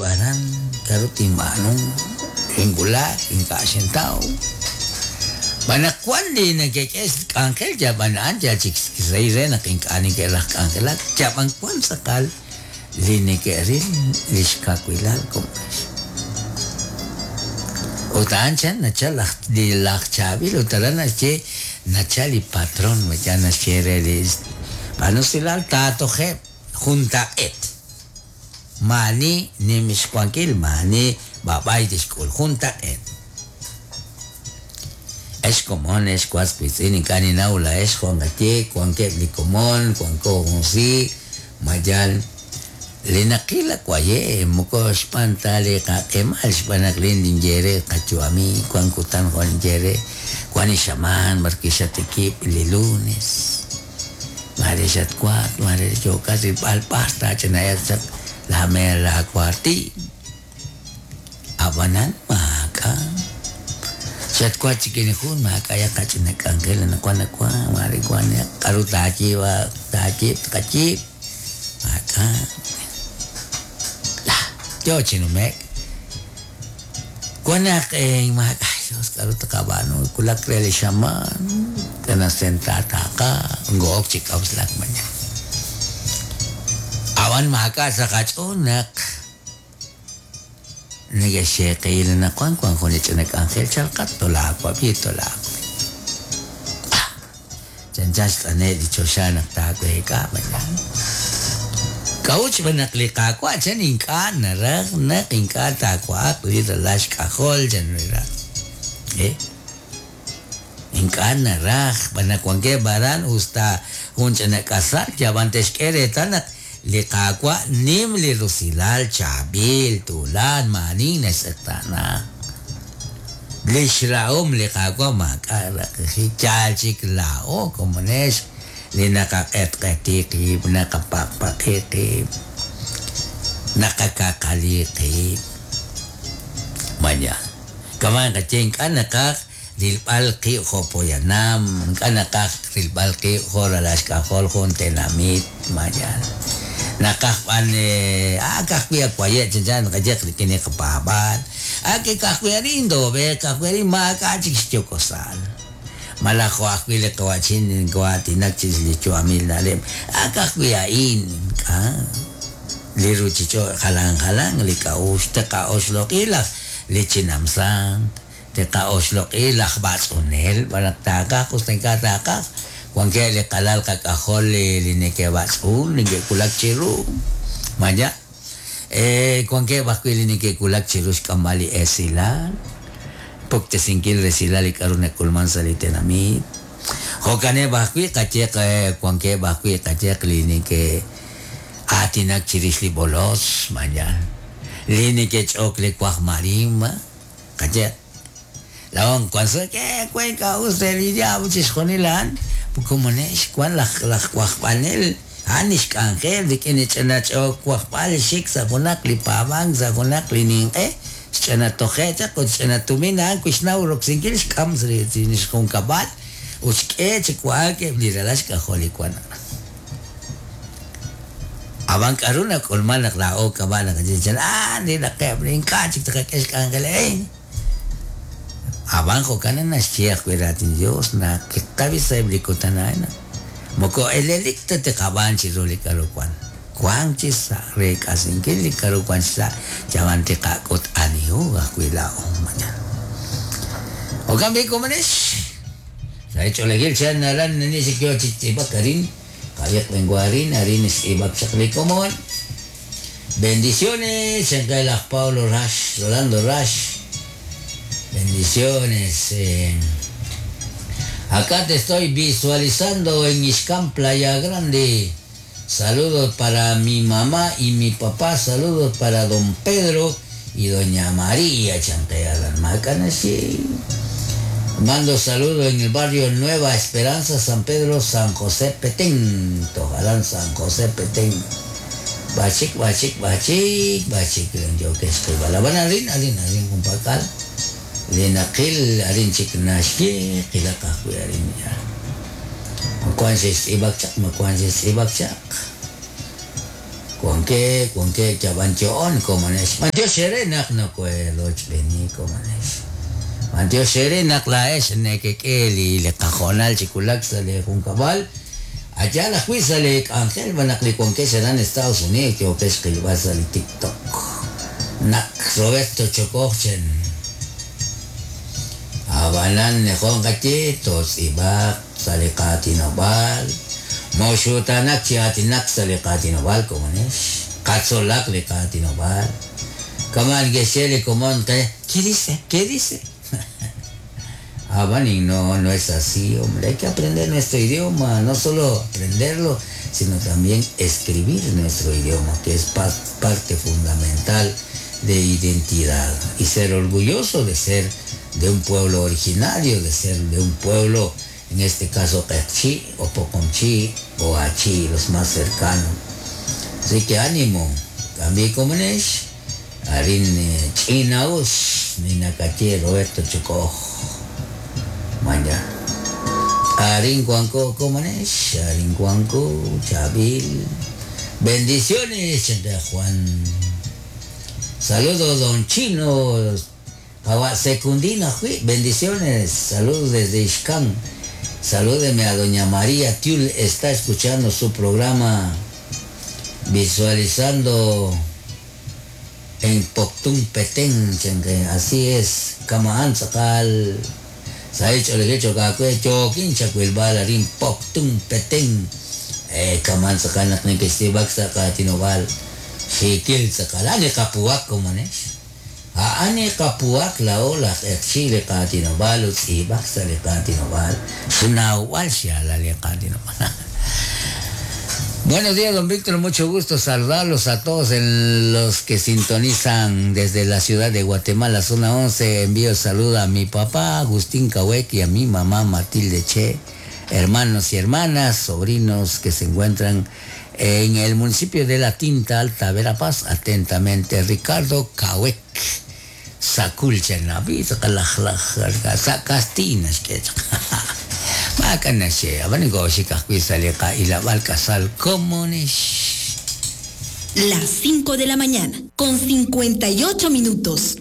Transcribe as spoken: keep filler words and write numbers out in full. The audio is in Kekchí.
aran k'aru tinb'aanu xinwulak ink'a' xintaw b'an naq wan li neke'k'e k'anjel yab'an a'an yal chik rey re naq ink'a' neke'raj k'anjelak yab'an wan tz'aqal li neke'ril li xkawilal komonex ut a'an chan nachal laj li laj chaab'il ut aran naxye nachal li patron ya naxye re li b'anusilal taatojeb' juntaq'eet maani nim xwankil maani b'ab'ay tixk'ul juntaq'eet ex komon ex was wiitz'in ink'a' ninnaw laa'ex jo' nqaye wankeb' li komon wanko junsi mayal li naqil waye moko xb'aan ta li qaq'emal xb'aan naq lin ninye re qayu'ami wan kutan jo' ninye re wan ixamaan b'arwi' xatikib' li lunes mare xatwaak mare yookat rilb'al b'ar taach'ina'eb' chaq la mer laakuarti ab'anan maak'a' xatwa chik jun maak'a' qach'ina k'anjel anaqwan nawan mare wan k'aru taayiib' taayiib' tqayiib' maak'a' yo chi nume'k wan naq maak'a' Dios k'aru tqab'aanu wulak re li xamaan tanasentataaqa ngo'ok chi k'awslak mañana ab'an maak'a' sa' qach'ool naq neke'xeeqil anaqwan wan jun li ch'ina k'anjel chalqat tolaawab'i tolaawab'i chanchan xt'ane' li choxa naq taaweek'a mañana k'a'ut xb'aan naq li Qaawa' chan ink'a' naraj naq ink'a' taawa'aq li ralal xk'ajol chan raj eh ink'a' naraj b'an naq wankeb' aran usta jun ch'ina k'asal yab'an te'xk'e reetal naq li Qaawa' nim li rusilal chaab'il tuulan maani naxtz'eqtaana li xrahom li Qaawa' maak'a' raqijik yaal chik laa'o komonex li naqaq'etq'eti qib' naqapaqpaqi qib' naqakaqali qib' maya kaman qaye ink'a' naqaj rilb'al qib' jo' poyanam ink'a' naqaj rilb'al qib' jo' ralal xk'ajol jun tenamit maya naqaj b'an ah ka'ajwi' waye' chanchan naqaye rik'in li qapaab'aal ah ke ka'ajwi' arin toob'eeq ka'ajwi' arin maak'a' chik xyokosal malaj jo' ajwi' li qawa'chin nko'aatinak chirix li yu'amil na'leb' ah ka'ajwi' a'in ink'a' li ruchich'och' jalan jalan li k'a'uxl tiqa'oxloq'i laj li chinamsant tiqa'oxloq'i laj b'atz'unel b'an naq taaqaj usta ink'a' taaqaj wankeb' li qalal qak'ajol li li neke'b'atz'un neke'wulak chiru maya eh wankeb' ajwi' li neke'wulak chiru xk'amb'al li esilal puktesinkil resilal li k'aru nak'ulman sa' li tenamit jo'kaneb' ajwi' qayeq wankeb' ajwi' qayeq li neke'aatinak chirix li bolos maya li neke'ch'ok li waj marima qayeq laon wan sa' ke wen k'a'us re li diablo chixjunil a'an komonex wan laj laj wajb'anel a'an xk'anjel rik'in li ch'ina ch'ok wajb'al xik sa' junaq li paab'ank sa' junaq li ninq'e xch'ina toje' chaq ut xch'ina tumin a'an kuxnaw roksinkil xk'am sa' li xjunkab'al ut xk'e chi wa'ak eb' li ralal xk'ajol li wan ab'an k'aru nak'ulman naq laa'o kab'a naq chan ah li naqeb' ink'a' chik tqak'e xk'anjel eh ab'an jo'kan naxye ajwi' raatin Dios naq kiqabi sa'eb' li kutan a'in moko elelik ta tiqab'aan chiru li k'aru wan wan chi sa' re k'asinkil li k'aru wan chi sa' yab'an tiqak'ut anihu ajwi' laa'o mañana jo'kan b'i komonex sa' ch'oolejil chan aran nani xik yo chi tz'iib'ak arin qayeq benguarin arin xtz'iib'ak chaq li komon bendiciones chankay laj Paulo Rash Rolando Rash bendiciones eh. Acá te estoy visualizando en Ixcán, Playa Grande. Saludos para mi mamá y mi papá. Saludos para don Pedro y doña María Chantea Macanasi. Mando saludos en el barrio Nueva Esperanza, San Pedro, San José Petén. Tojalán, San José Petén. Bachik, bachik, bachik, bachik. Yo que estoy balabana, alin, alin, alin, kumpakal. Linaqil arin chik naxye qilaq ajwi' arin ya makuan xe'xtz'iib'ak chaq makuan xe'xtz'iib'ak chaq Wanke, wanke, yaban yoon, komanex. Bantiox ere naq nokoerochb'eeni komanex. Bantiox ere naq laa'ex nekek'e li li qajoonal chi wulak sa' li junkab'al. Allá ajwi' sa' li k'anjel naq li wankex aran Estados Unidos yookex qilb'al sa' li TikTok. Naq Roberto Chocoj chen. Abanan nejon qaye totz'ib'aq sa' li qaatinob'aal. Moxutanak chi aatinak sa' li qaatinob'aal komanex. Qatzolaq li qaatinob'aal. Kaman gexe li komon qe, ¿qué dice? ¿Qué dice? Ah, y no, no es así, hombre. Hay que aprender nuestro idioma, no solo aprenderlo, sino también escribir nuestro idioma, que es pa parte fundamental de identidad. Y ser orgulloso de ser de un pueblo originario, de ser de un pueblo, en este caso Q'eqchi o Poqomchi o Achi, los más cercanos. Así que ánimo, cambie como es, Arin Chinaus, Ninacache, Roberto Chocoj. Manja. Arin Cuanco, Comanesh, Arin Cuanco, Chabil. Bendiciones, de Juan. Saludos, don Chino. Secundina, bendiciones. Saludos desde Ixcán. Salúdeme a doña María Tiul, está escuchando su programa, visualizando en Poptún Petén, así es, Kamahan Sakal. Saich olegecho kakwe chokin chakwilbal arin Poptún Petén. Eh, kaman sakal nak nikistibak sa katinobal. Xikil sakal ani kapuak komanesh. Ani kapuak la ola ekchile katinobal utzibak sa li katinobal. Xnawal siya la li katinobal. Buenos días, don Víctor, mucho gusto saludarlos a todos en los que sintonizan desde la ciudad de Guatemala, zona once. Envío saludo a mi papá, Agustín Cahuec, y a mi mamá, Matilde Che, hermanos y hermanas, sobrinos que se encuentran en el municipio de La Tinta Alta, Verapaz. Atentamente, Ricardo Cahuec. Sakulcha nabi, sakastinas que Las cinco de la mañana, con cincuenta y ocho minutos.